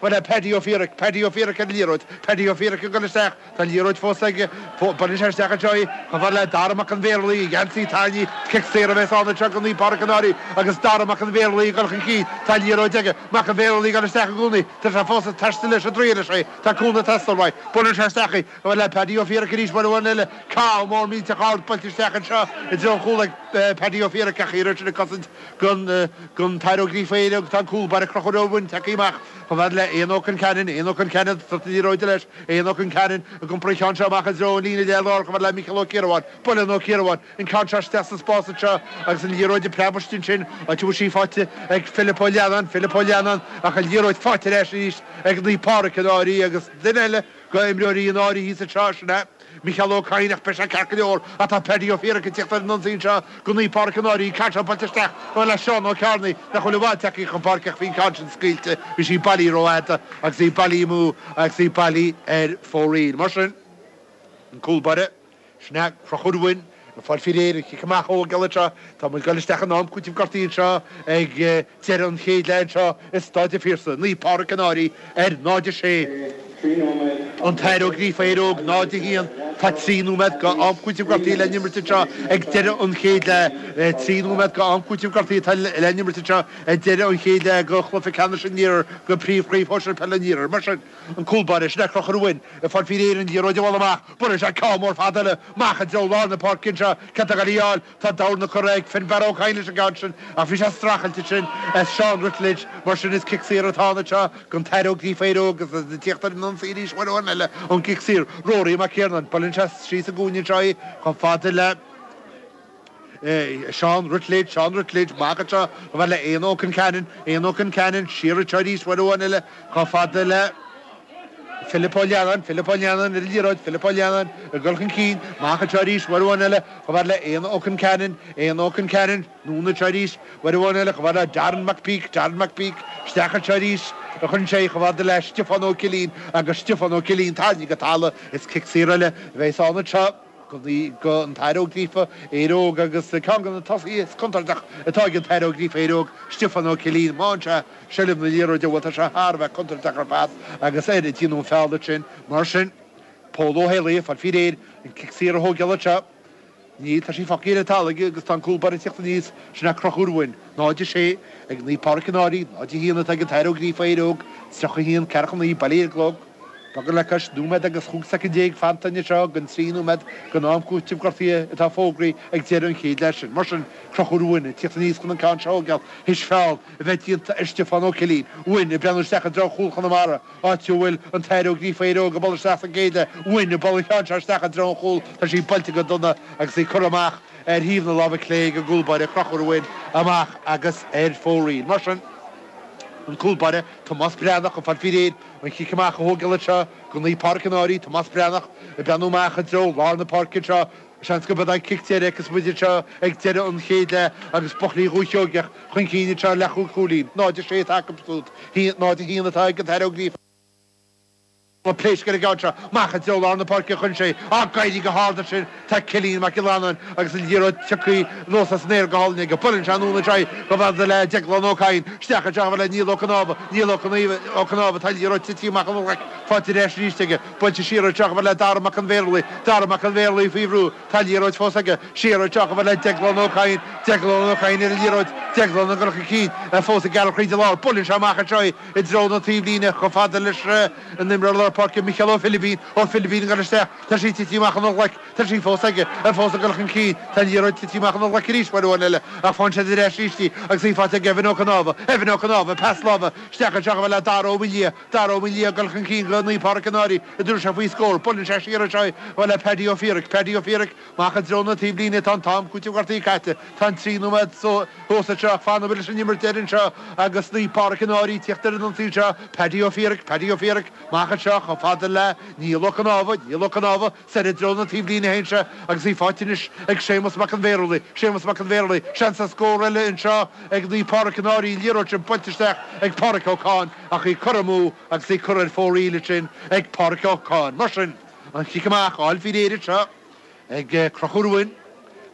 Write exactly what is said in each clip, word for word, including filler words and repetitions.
chomh fada le Paddy Ó Fiaraic, Paddy Ó Fiaraic ar an liathróid, Paddy Ó Fiaraic ag dul isteach, tá an liathróid fós aige, buaileann sé isteach anseo í, chomh fada le Dara Mac an Bhéarlaí, geansaí tarraingthe, cic saor a bheas ann anseo do Naomh Pádraig an Fhairche agus Dara Mac an Bhéarlaí ag dul chun cinn, tá an liathróid aige, Mac an Bhéarlaí ag dul isteach i gcónaí, tá sé fós ag taisteal leis an dtriail leis é, tá cúnamh ag teastáil uaidh, buaileann sé isteach í, chomh fada le Paddy Ó Fiaraic arís, buaile amháin eile, ceann mór millteach ard buailte isteach anseo i dtreo an chúil ag Paddy Ó Fiaraic ach iarraidh sin ag cosaint don don tAthair Ó Gríofa Éire agus tá an cúl báire Conchúr Ó Broin tagtha amach chomh fada le Éanna Ó Concheanainn, Éanna Ó Concheanainn, sort na liathróide leis, Éanna Ó Concheanainn ag iompar an cheann seo amach i dtreo an líne leath-lár chomh fada le Micheál Ó Ciarabháin, buaileann Ó Ciarabháin an ceann seo isteach sa spás anseo agus an liathróid ag preabadh istigh ansin, áit a bhfuil sí faighte ag Philip Ó Leannáin, Philip Ó Leannáin ach an liathróid faighte ar ais arís ag Naomh Pádraig an Fhairche agus duine eile go imreoirí an Fhairche thíos anseo, sin é. Micheál Ó Cadhain ach beidh sé ceart go leor ach tá Paddy Ó Fiaraic ag tíocht ar an ionsaí anseo go Naomh Pádraig an Fhairche, ceann seo buailte isteach chomh fada le Seán Ó Cearnaigh nach bhfuil i bhfad tagtha chun páirce ach bhí an ceann sin scaoilte, bhí sí bailithe rófhada agus í bailithe amú agus í bailithe ar fóraoil. Mar sin, an cúl báire, sin é Conchúr Ó Broin ag fáil faoi réir an chic amach a thógáil anseo. Tá muid ag dul isteach in am cúitimh gortaithe anseo ag deireadh an chéad leath anseo i Staid an Phiarsaigh. Naomh Pádraig an Fhairche ar náid a sé. An tAthair Ó Gríofa Éire Óg náid a haon. Tá trí nóiméad go am cúitimh gortaithe le n-imirt anseo ag deireadh an chéad leath. Trí nóiméad go am cúitimh gortaithe atá le n-imirt anseo ag deireadh an chéad leath go chluiche ceannais an Iarthair go príomhchraobh shóisir peile an Iarthair. Mar sin, an cúl báire, sin é Conchúr Ó Broin ag fáil faoi réir an liathróid a bhualadh amach. Buaileann sé ceann mór fada eile amach i dtreo lár na páirce anseo. Cé atá ag dul í a fháil? Tá dorn curtha ag Finbarr Ó Cadhain leis an gceann sin ach bhí sé streachailte ansin ag Seán Ruttledge. Mar sin is cic saor atá ann anseo don tAthair Ó Gríofa Éire Óg agus ag tíocht ar an ionsaí arís uair amháin eile ón gcic saor. Rory Mac Iarnáin, buaileann sé síos i gcúinne anseo í chomh fada le Seán Ruttledge, Seán Ruttledge, amach anseo chomh fada le Éanna Ó Concheanainn, Éanna Ó Concheanainn, siar anseo arís uair amháin eile chomh fada le Philip Ó Leannáin, Philip Ó Leannáin ar an liathróid, Philip Ó Leannáin ag dul chun cinn, amach anseo arís uair amháin eile chomh fada le Éanna Ó Concheanainn, Éanna Ó Concheanainn, anonn anseo arís uair amháin eile chomh fada le Darren McPeak, Darren McPeak, isteach anseo arís a chuireann sé chomh fada le Stiofán Ó Cillín agus Stiofán Ó Cillín tarraingthe go talamh, is cic saor eile a bheas ann anseo. go an tAthair Ó Gríofa, Éire Óg agus ceann de na tosaithe is contúirteach atá ag an tAthair Ó Gríofa, Éire Óg, Stiofán Ó Cillín. Má fhaigheann sé seilbh na liathróide, bhuel, tá sé thar a bheith contúirteach ar fad agus air a déanadh an feall ansin. Mar sin, Pól Ó hÉalaithe ag fáil faoi réir an cic saor a thógáil anseo. Níl, tá sí fágtha ar an talamh aige agus tá an cúl báire ag tíocht aníos, sin é Conchúr Ó Broin. náid a sé ag Naomh Pádraig an Fhairche, náid a haon atá ag an tAthair Ó Gríofa, Éire Óg, tríocha a haon, ceathracha a naoi, bailithe ar an gclog. Beagán le cois nóiméad agus chúig soicind déag fanta anseo den trí nóiméad den am cúitimh gortaithe atá fógraithe ag deireadh an chéad leath sin. Mar sin, Conchúr Ó Broin ag tíocht aníos chun an ceann seo a thógáil théis feall a bheith déanta ar Stiofán Ó Cillín. Ó Broin ag breathnú isteach i dtreo chúl Chonamara, áit a bhfuil an tAthair Ó Gríofa Éire Óg ag bualadh isteach sa gcéad leath. Ó Broin ag bualadh an cheann seo isteach i dtreo an chúil. Tá sí buailte go dona agus í curtha amach ar thaobh na láimhe clé ag an gcúl báire Conchúr Ó Broin amach agus ar fóraoil. Mar sin, an cúl báire, Tomás Breathnach ag fáil faoi réir an chic amach a thógáil anseo go Naomh Pádraig an Fhairche, Tomás Breathnach ag breathnú amach i dtreo lár na páirce anseo. Seans gurb é an cic deiridh agus muid anseo ag deireadh an chéad leath agus Buachaillí Dhúiche Sheoigeach chun cinn anseo le chúig chúilín. náid a sé atá acu siúd, náid a haon atá ag an tAthair Ó Gríofa. Pléasc ar an gceann seo amach i dtreo lár na páirce a chuireann sé á éirí go hard ansin. Tá Cillian Mac Giollarnáin agus an liathróid tagtha anuas as an aer go hálainn aige. Buaileann sé anonn anseo í chomh fada le Deaglán Ó Cadhain. Isteach anseo chomh fada le Niall Ó Cnámha. Niall Ó Cnámha, tá an liathróid tite amach óna ghlaic faighte ar ais arís aige. Buailte siar anseo chomh fada le Dara Mac an Bhéarlaí. Dara Mac an Bhéarlaí faoi bhrú. Tá an liathróid fós aige. Siar anseo chomh fada le Deaglán Ó Cadhain. Deaglán Ó Cadhain ar an liathróid. Deaglán ag dul chun cinn. Fós ag gearradh thríd an lár. Buaileann sé amach anseo í i dtreo na taobhlíne chomh fada leis an imreoir lár páirce Micheál Ó Philibín, Ó Philibín ag dul isteach, tá sí tite amach óna ghlaic, tá sí fós aige, é fós ag dul chun cinn, tá an liathróid tite amach óna ghlaic arís uair amháin eile ach faigheann siad ar ais arís í agus í faighte ag Evan Ó Cnámha, Evan Ó Cnámha, pas láimhe isteach anseo chomh fada le Dara Ó Maoildhia, Dara Ó Maoildhia ag dul chun cinn go Naomh Pádraig an Fhairche, a dtabharfaidh sé faoi scór, buaileann sé siar anseo í chomh fada le Paddy Ó Fiaraic, Paddy Ó Fiaraic, amach i dtreo na taobhlíne, tá an t-am cúitimh gortaithe caite, tá an trí nóiméad thuas anseo ach fanfaidh leis an imirt deiridh anseo agus Naomh Pádraig an Fhairche ag tíocht ar an ionsaí anseo, Paddy Ó Fiaraic, Paddy Ó Fiaraic, amach anseo chomh fada le Niall Ó Cnámha, Niall Ó Cnámha, soir i dtreo na taobhlíne a théann sé agus í faighte anois ag Séamus Mac an Bhéarlaí, Séamus Mac an Bhéarlaí, seans ar scór eile anseo ag Naomh Pádraig an Fhairche, an liathróid sin buailte isteach ag Pádraig Ó Cadhain ach í curtha amú agus í curtha ar fóraoil ansin ag Pádraig Ó Cadhain. Mar sin, an chic amach á fháil faoi réir anseo ag Conchúr Ó Broin.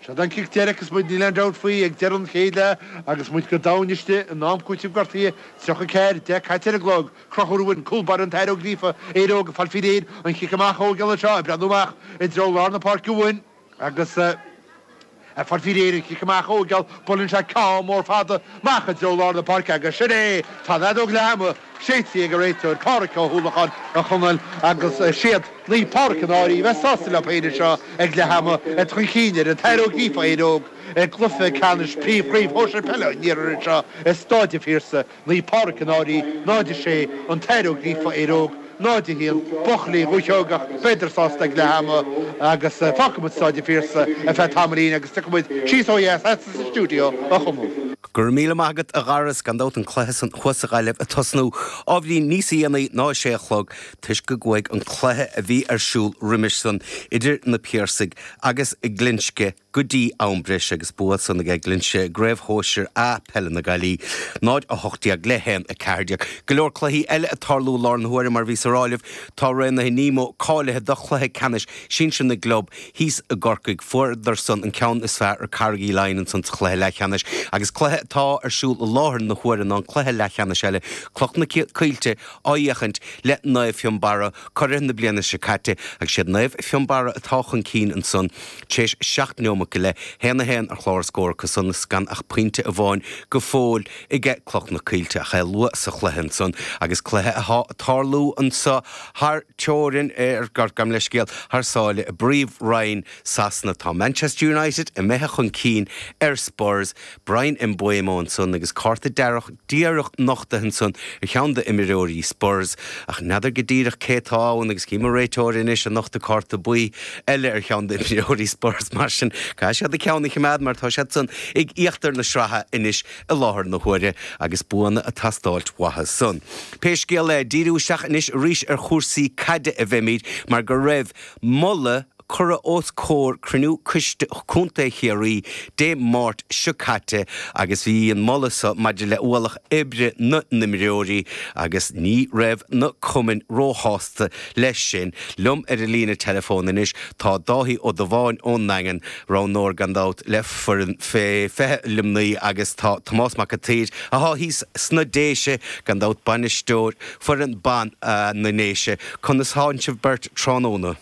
Seod an cic deiridh agus muid, níl aon dabht faoi, ag deireadh an chéad leath agus muid go domhain istigh in am cúitimh gortaithe, tríocha ceathair, deich caite ar an gclog. Conchúr Ó Uain, cúl báire an tAthair Ó Gríofa, Éire Óg ag fáil faoi réir, an chic amach ó gheall anseo, ag breathnú amach i dtreo lár na páirce uainn agus ag fáil faoi réir an chic amach ó gheall, buaileann sé ceann mór fada amach i dtreo lár na páirce agus sin é! Tá an fheadóg leath ama séidte ag an réiteoir Pádhraic Ó hUallacháin a Chonaill agus siad Naomh Pádraig an Fhairche a bheas sásta leo féin anseo ag leath ama iad chun cinn ar an tAthair Ó Gríofa Éire Óg i gcluiche ceannais Príomh-Chraobh Shóisir Peile an Iarthair anseo i Stáid an Phiarsaigh, Naomh Pádraig an Fhairche, náid a sé, an tAthair Ó Gríofa Éire Óg, náid a haon, buachaillí Dhúiche Sheoigeach, b'fhéidir sásta ag leath ama agus fágfaidh muid Stáid an Phiarsaigh ar feadh tamaillín agus tiocfaidh muid síos ó dheas sa stiúideo a Chonaill. Go raibh míle maith agat a Dhara, is gan dabht an cluiche san thuas sa Ghaillimh ag tosnú ábhairín níos dhéanaí ná a sé a chlog toisc go gcuaigh an cluiche a bhí ar siúl roimis san idir na Piarsaigh agus Glinsce go dtí am breise agus bua san aige Glinsce i gCraobh Shóisir A Peile na Gaillimhe, náid a hocht déag le haon a ceathair déag. Go leor cluichí eile ag tarlú i láthair na huaire mar bhíos ag rá libh tá Raonaithe Nemo cáilithe do chluiche ceannais sinsir na gclub thíos i gCorcaigh. Fuaireadar san an ceann is fearr ar Carraig Uí Leighin ansan sa chluiche leathcheannais agus cluiche atá ar siúl i láthair na huaire ná an cluiche leathcheannais eile, Cloich na Coillte á fhéachaint le Naomh Fionnbarra, curaidh na bliana seo caite agus siad Naomh Fionnbarra atá chun cinn ansan tar éis seacht neomat go leith, haon a haon ar chlár na scór acu san is gan ach pointe amháin go fóill aige Cloich na Coillte ach é luath sa chluiche ansan agus cluiche atá ag tarlú anso thar teorainn, ar, gabh mo leithscéal, thar sáile i bPríomh-Roinn Sasana. Tá Manchester United imithe chun cinn ar Spurs, Bryan Mbeumo ansan agus cárta dearg díreach nochtaithe ansan ar cheann d'imreoirí Spurs ach n'fheadar go díreach cé atá ann agus cím an réiteoir anois ag nochtadh cárta buí eile ar cheann d'imreoirí Spurs mar sin caithfidh siad a ceann a choimeád mar tá siad san ag íochtar na sraithe anois i láthair na huaire agus buanna ag teastáilt uathu san. Pé scéal é, díriú isteach anois arís ar chúrsaí caide a bheimid mar go raibh moladh curtha os comhair cruinniú Coiste Contae Chiarraí Dé Máirt seo caite agus bhí an moladh seo maidir le ualach oibre na n-imreoirí agus ní raibh na cumainn róshásta leis sin. Liom ar an líne teileafóin anois tá Dáithí Ó Dubháin ón nDaingean, roghnóir gan dabht le foireann fé fiche Luimnigh agus tá Tomás Mac an tSaoir athá thíos sna Déise, gan dabht bainisteoir foireann ban na nDéise. Conas thánn sibh beirt tráthnóna?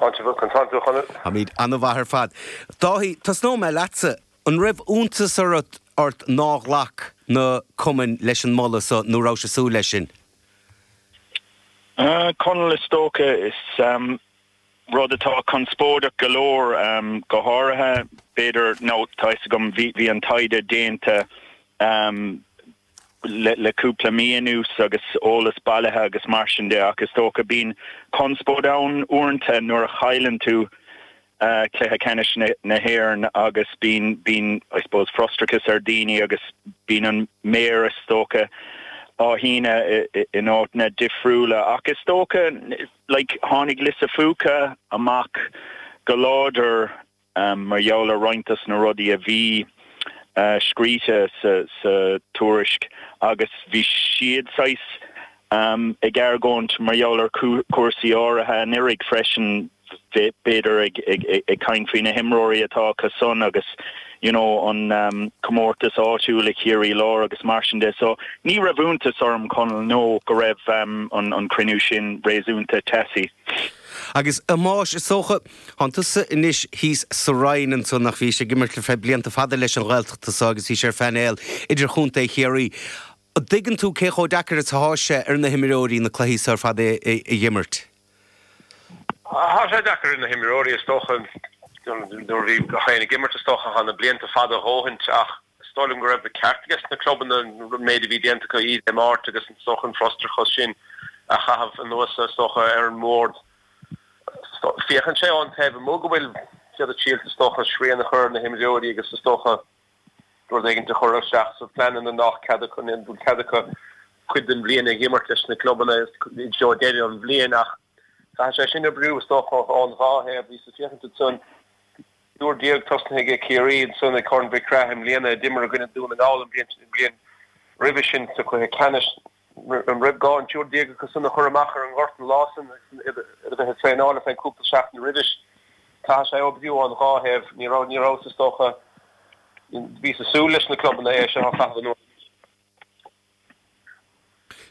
Táimid an-mhaith ar fad. Dáithí, tosnóidh mé leatsa. An raibh iontas ort ort nár ghlac na cumainn leis an moladh so nó rabhais ag súil leis sin? Conall, Is dócha, is rud atá conspóideach go leor, go háirithe, b'fhéidir, nó tá fhios agam, bhí an taighde déanta le cúpla mí anuas agus eolas bailithe agus mar sin de ach is dócha bíonn conspóid ann uaireanta nuair a chailleann tú cluiche ceannais na hÉireann agus bíonn, bíonn I suppose frustrachas ar daoine agus bíonn an méar is dócha á shíneadh in áiteanna difriúla ach is dócha like tháinig Lisa Fuca amach go láidir mar gheall ar roinnt dos na rudaí a bhí scríte sa tuairisc agus bhí siad saghas ag argóint mar gheall ar chúrsaí áirithe anuraidh freisin, b'fhéidir ag caint faoi na himreoirí atá acu san agus you know an comórtas áitiúil i Chiarraí Láir agus mar sin de. So ní raibh iontas orm, Conall, no go raibh an cruinniú sin réasúnta teasaí. Agus a Thomáis, is dócha, Tánn tusa anois thíos sa Rinn ansan ach bhís ag imirt le feadh blianta fada leis an Ghaeltacht anso agus bhís ar phainéal idirchontae Chiarraí. An dtuigeann tú cé chomh deacair is athá sé ar na himreoirí na cluichí so ar fad a dh'imirt? Tá sé deacair ar na himreoirí is dócha. Nuair a bhí gach éinne ag imirt is dócha thá na blianta fada a dhóthaint ach is dóigh liom go raibh an ceart aige sna clubanna an méid a bhí déanta acu Dé Máirt agus is dócha an frustrachas sin a chaitheamh anuas is dócha ar an mbord. Féachann sé ón taobh amuigh go bhfuil siad ag triail is dócha srian a chur ar na himreoirí agus is dócha rud éigin a chur isteach sa phleananna nach cead acu, ní bhfuil cead acu cuid den bhliain a dh'imirt leis na clubanna i dtreo deireadh an bhliain ach caithfidh sé sin oibriú is dócha ón dhá thaobh. Bhíos ag féachaint ansan triúr déag tosnaithe ag Ciarraí ansan ag Corn Mhic Craith i mbliana a d'imir i gcoinne Dún na nGall an bhliain roimhe sin sa chluiche ceannais. An raibh gá an triúr déag acu san a chur amach ar an ngort an lá san agus iad a bheith ag traenáil ar feadh cúpla seachtain roimhis? Caithfidh sé oibriú ón dhá thaobh, ní raibh, ní raibh is dócha, bhí ag súil leis na clubanna é seo a chaitheamh anuas.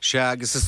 Sea, agus is